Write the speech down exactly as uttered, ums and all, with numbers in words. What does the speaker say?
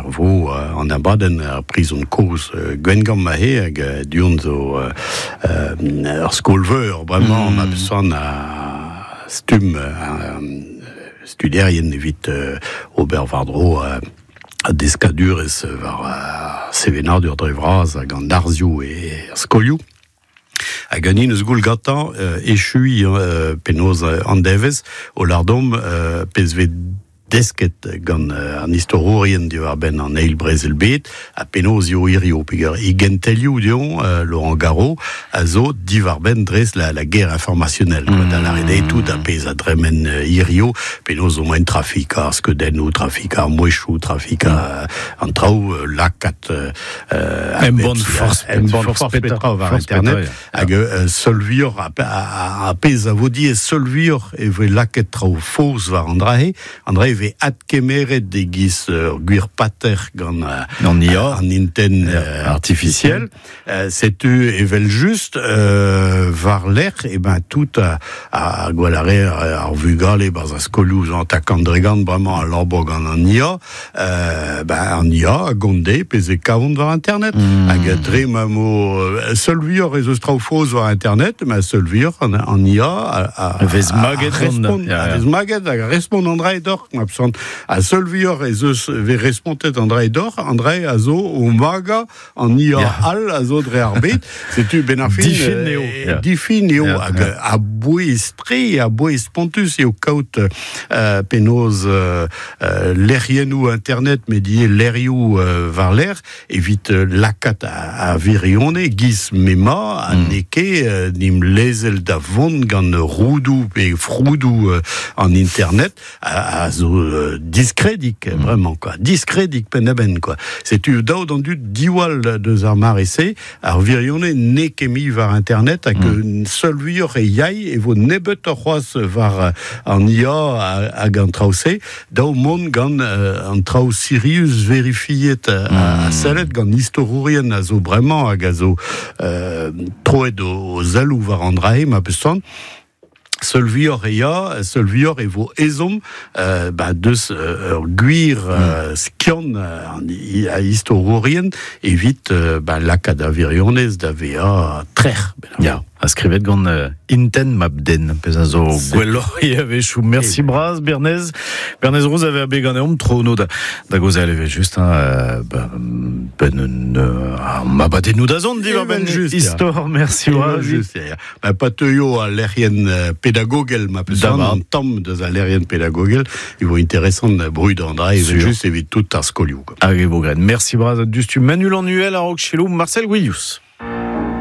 er vo uh, an abadenn ar prizon koz uh, Gwengamp ma he hag uh, duon zo uh, uh, ur skol-veur bremañ mm. ma peus a stum uh, studierien evit uh, ober war-dro uh, a deskadurez war uh, sevenadur dre vras hag an arzioù e ar skolioù. Hag an eus goul gatañ euh, echui euh, penaos an devez o lardom euh, pez vet desket gant uh, an istorourien diwar ben an eil brezel bet, a penaos eo hirio, peger e gentelioù dion, uh, Laurent Garot, a zo diwar ben dres la, la guerre informationnelle, mm. da la rede tout a pez a dremen uh, hirio, penaos o moen trafik ar skeudennoù, trafik ar mouechou, trafik mm. an traoù uh, lakat... Uh, en bon force, en bon force petra war internet, hag uh, seul vuioc'h a, a, a pez a vo die seul vuioc'h e voe laket traoù faos war an drahe, an drahe ve adkemeret de giz ur gwir pater gant uh, an I A, an inten uh, artificiel. Uh, setu evel just uh, war lec'h e ben tout a, a gwalare ar vugale barz a skolioù an takant dregant bremañ a labo gant an I A, uh, ben an I A a gonde pez e kavont war internet. Mm. Hag dre ma mo seul vuioc'h ez eus traoù faos war internet, ma seul vuioc'h an, an I A a, a, vez maget a, respond, a vez maget hag a respond an dra edoc'h, ma peus a seul vuioc'h ez eus ve respontet an dra edoc'h, an dra a zo o maga an I A yeah. all a zo dre ar bet, setu ben ar fin difin eo yeah. difin eo yeah, hag yeah. a bouez tre, a bouez spontus eo kaout euh, penaos euh, euh, lec'hiennoù internet met die lerioù euh, war l'air evit euh, lakat a, a virione giz mema a mm. neke euh, nim lezel da vont gant roudou pe froudou euh, en internet a, a zo euh, diskredik mm. vraiment quoi, diskredik pen-a-ben quoi. Setu daou d'an dud diwall deus ar mare-se ar virione neke mi war internet hag mm. seul vuioc'h e yai e vo nebeut ur c'hoazh war an I A hag an traoù-se daou mont gant euh, an traoù sirius verifiet a, mm. a sellet gant istorourien a zo bremañ hag a zo euh, troet o, o zalou war an drae ma peus sant. Seul vuioc'h e ya, seul vuioc'h e vo ezhomm euh, ba deus euh, ur gwir euh, skiant euh, a istorourien evit euh, ba lakaat a virionez da vezañ trec'h. Ya, a skrivet gant uh, inten mabden, pez a zo gwelloc'h e a-wechoù. Merci braz, Bernez. Bernez Rouz avait abe ganeomp tro no da, da gozel eve just, hein, euh, ba, ben un, euh, ma badennoù da zont diwar ben just, istor, merci braz. Just, ya. Ba pa teuio a lec'hienn pédagogel, ma peus an tamm deus a lec'hienn pédagogel, e vo interesant brud an dra, evel just evit tout ar skolioù. Hag e vo graet. Merci braz, dustu Manu Lanuel, a-raok Chelou, Marcel Gouillous.